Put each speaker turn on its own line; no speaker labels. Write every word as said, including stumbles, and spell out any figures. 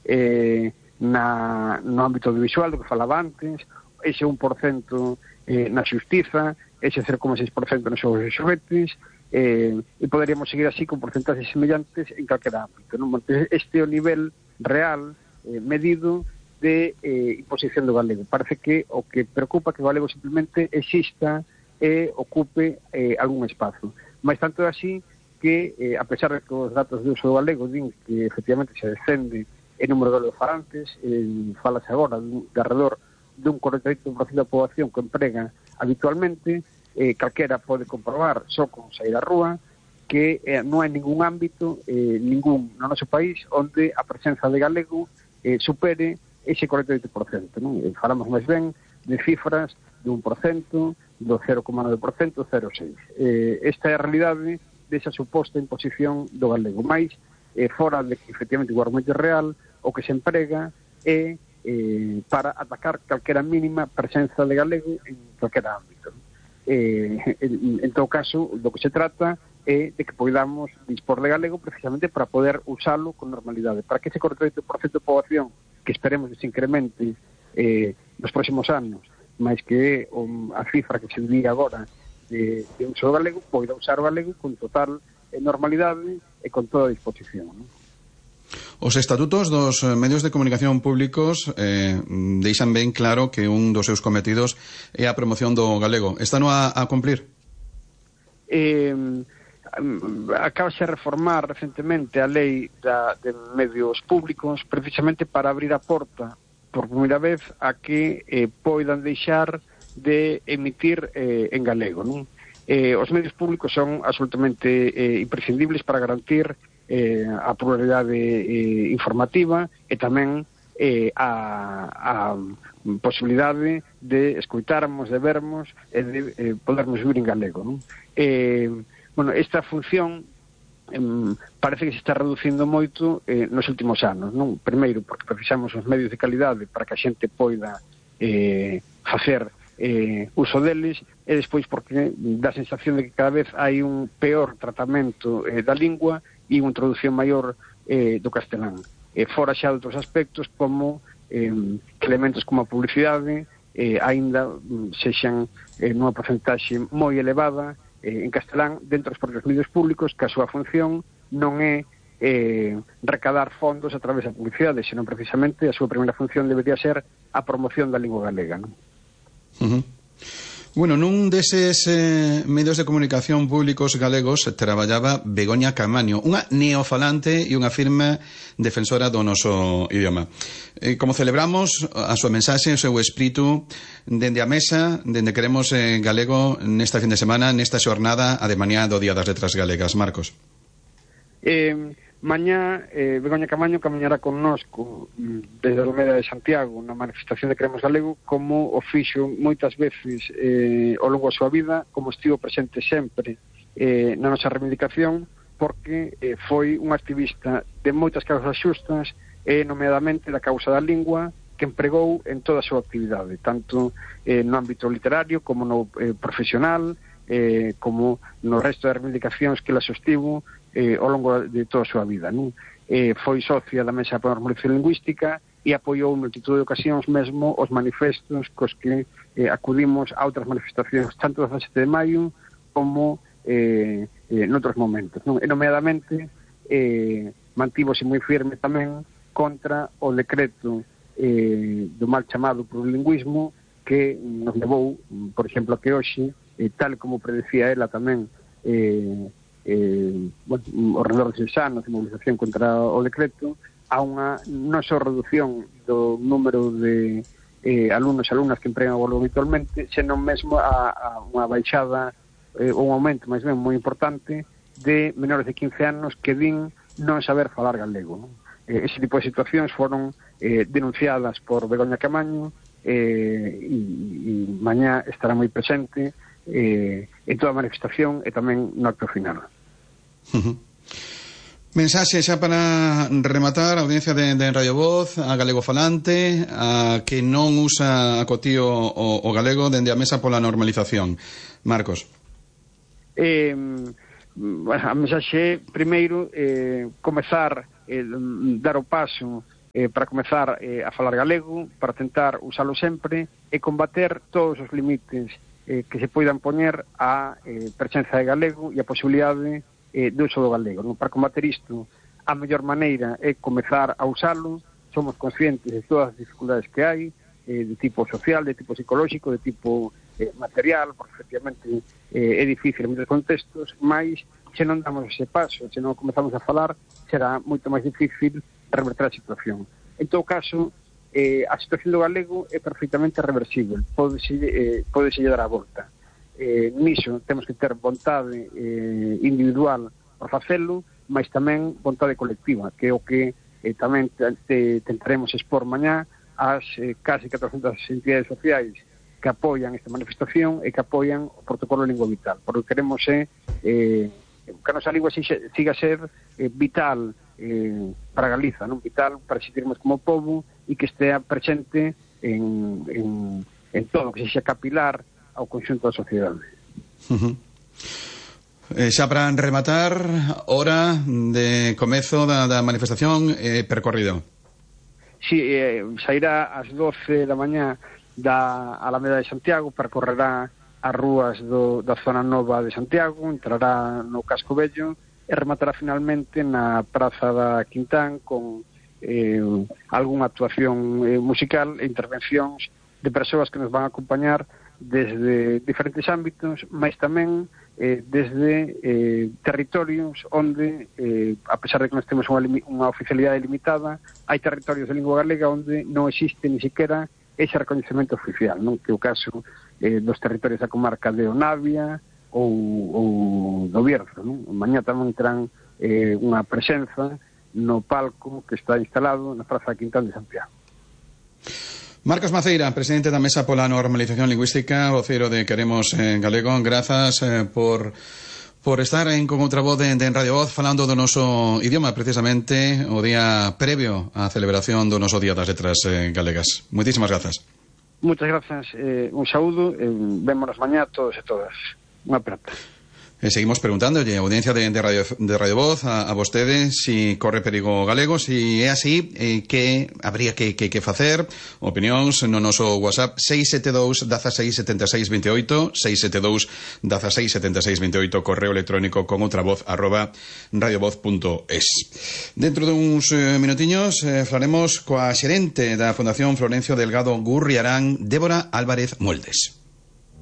eh, na, no ámbito audiovisual, do que falaba antes, ese un por cento eh, na xustiza, ese cero coma seis por cento nos xogos e xoguetes, eh, e poderíamos seguir así con porcentaxes semellantes en calquera ámbito, non? Este é o nivel real eh, medido de eh, imposición do galego. Parece que o que preocupa que o galego simplemente exista e ocupe eh, algún espazo. Mais tanto é así que, eh, a pesar de que os datos de uso do galego din que efectivamente se descende en número de galegofalantes, eh, falase agora de, de alrededor dun cuarenta e oito por cento da poboación que emprega habitualmente, eh, calquera pode comprobar só con sair á rúa que eh, non hai ningún ámbito, eh, ningún no noso país onde a presenza de galego eh, supere ese cuarenta e oito por cento, non? Eh, falamos máis ben de cifras de un por cento, do cero coma nove por cento, cero coma seis por cento. Eh, esta é a realidade desa suposta imposición do galego, máis eh, fora de que efectivamente o argumento é real, o que se emprega é eh, para atacar calquera mínima presenza de galego en calquera ámbito. Eh, en, en todo caso, do que se trata é de que podamos dispor de galego precisamente para poder usalo con normalidade, para que ese cuarenta e oito por cento de poboación que esperemos que se incremente eh, nos próximos anos, máis que um, a cifra que se di agora de, de uso do galego, poida usar o galego con total eh, normalidade e con toda a disposición, non?
Os estatutos dos medios de comunicación públicos eh, deixan ben claro que un dos seus cometidos é a promoción do galego. Están a, a cumplir?
Eh, acabase de reformar recentemente a lei da, de medios públicos precisamente para abrir a porta por primeira vez a que eh, poidan deixar de emitir eh, en galego, non? Eh, os medios públicos son absolutamente eh, imprescindibles para garantir eh, a pluralidade eh, informativa e tamén eh, a, a posibilidade de escoitarmos, de vermos e de eh, podermos vivir en galego, non? Eh, bueno, esta función eh, parece que se está reducindo moito eh, nos últimos anos, non? Primeiro, porque precisamos os medios de calidade para que a xente poida eh, facer eh, uso deles, e despois porque dá a sensación de que cada vez hai un peor tratamento eh, da lingua e unha introducción maior eh, do castelán. Eh, fora xa de outros aspectos como eh, elementos como a publicidade eh, aínda sexan eh, nunha porcentaxe moi elevada eh, en castelán dentro dos propios medios públicos, que a súa función non é eh, recadar fondos a través da publicidade, senón precisamente a súa primeira función debería ser a promoción da lingua galega, non?
Uh-huh. Bueno, nun deses eh, medios de comunicación públicos galegos traballaba Begoña Caamaño, unha neofalante e unha firme defensora do noso idioma. Eh, como celebramos a súa mensaxe, o seu espírito dende a mesa, dende Queremos eh, Galego nesta fin de semana, nesta xornada a de mañá do Día das Letras Galegas. Marcos.
Eh, mañá eh, Begoña Caamaño camiñará connosco desde a Alameda de Santiago na manifestación de Queremos Galego, como o fixo moitas veces eh, ao longo da súa vida, como estivo presente sempre eh, na nosa reivindicación, porque eh, foi un activista de moitas causas xustas e nomeadamente da causa da lingua, que empregou en toda a súa actividade, tanto eh, no ámbito literario como no eh, profesional, eh, como no resto das reivindicacións que la sostivo eh, ao longo de toda a súa vida, non? Eh, foi socia da Mesa para a Normalización Lingüística e apoiou en multitud de ocasións mesmo os manifestos cos que eh, acudimos a outras manifestacións, tanto do dezasete de maio como eh, eh, noutros momentos, non? E nomeadamente eh, mantívose moi firme tamén contra o decreto eh, do mal chamado plurilingüismo, que nos levou, por exemplo, a que hoxe, eh, tal como predecía ela tamén, eh, eh, bueno, ao redor de seis anos de movilización contra o decreto, a unha non só reducción do número de eh, alumnos e alumnas que empregan o galego habitualmente, senón mesmo a, a unha baixada, eh, un aumento máis ben moi importante de menores de quince anos que din non saber falar galego, non? Eh, ese tipo de situacións foron eh, denunciadas por Begoña Caamaño, eh, e, e mañá estará moi presente eh, en toda a manifestación e tamén no acto final.
Uh-huh. Mensaxe xa para rematar, a audiencia de, de Radio Voz, a galego falante, a que non usa a cotío o, o galego dende a mesa pola normalización. Marcos.
Eh, bueno, a mensaxe primeiro eh, comezar eh, dar o paso eh, para comezar eh, a falar galego, para tentar usalo sempre e combater todos os limites eh, que se poidan poñer á eh, presenza de galego e a posibilidade eh, de uso do galego. Non? Para combater isto, a mellor maneira é comezar a usalo. Somos conscientes de todas as dificultades que hai, eh, de tipo social, de tipo psicolóxico, de tipo eh, material, porque efectivamente eh, é difícil en moitos contextos, mas se non damos ese paso, se non comezamos a falar, será moito máis difícil reverter a situación. En todo caso, eh, a situación do galego é perfectamente reversible, pódese, eh, pódese dar a volta. Eh, niso temos que ter vontade eh, individual para facelo, mas tamén vontade colectiva, que é o que eh, tamén te, te, tentaremos expor mañá ás eh, casi catrocentas entidades sociais que apoian esta manifestación e que apoian o protocolo Lingua Vital, porque queremos é eh, que a nosa lingua siga a ser eh, vital eh, para Galiza, non vital para existirmos como povo e que estea presente en, en, en todo, que sexa capilar ao conxunto da sociedade.
Uh-huh. Eh, xa para rematar, hora de comezo da, da manifestación eh, percorrido.
Si, sí, eh, sairá ás doce da mañá da Alameda de Santiago, percorrerá as rúas do, da zona nova de Santiago, entrará no Casco Vello e rematará finalmente na Praza da Quintán con eh, algunha actuación eh, musical e intervencións de persoas que nos van a acompañar desde diferentes ámbitos, mas tamén eh, desde eh, territorios onde, eh, a pesar de que nós temos unha, unha oficialidade limitada, hai territorios de lingua galega onde non existe ni siquiera ese recoñecemento oficial, non? Que é o caso eh, dos territorios da comarca de Onavia ou, ou do Bierzo, non? Mañá tamén terán eh, unha presenza no palco que está instalado na Praza Quintán de Santiago.
Marcos Maceira, presidente da Mesa pola Normalización Lingüística, voceiro de Queremos en Galego, grazas eh, por por estar en con outra voz de, de en Radio Voz falando do noso idioma, precisamente o día previo á celebración do noso Día das Letras eh, Galegas. Moitísimas grazas.
Moitas grazas, eh, un saúdo, eh, vémonos mañá todos e todas. Unha aperta.
Eh, seguimos preguntándolle, audiencia de, de, Radio, de Radio Voz, a, a vostede, si corre perigo galego, si é así, eh, que habría que, que, que facer, opinións no noso WhatsApp seis sete dous, dieciséis, setenta e seis, veintioito, seis sete dous, dieciséis, setenta e seis, veintioito, correo electrónico con outra voz, arroba radiovoz punto es. Dentro duns eh, minutiños eh, falaremos coa xerente da Fundación Florencio Delgado Gurriarán, Débora Álvarez Moldes.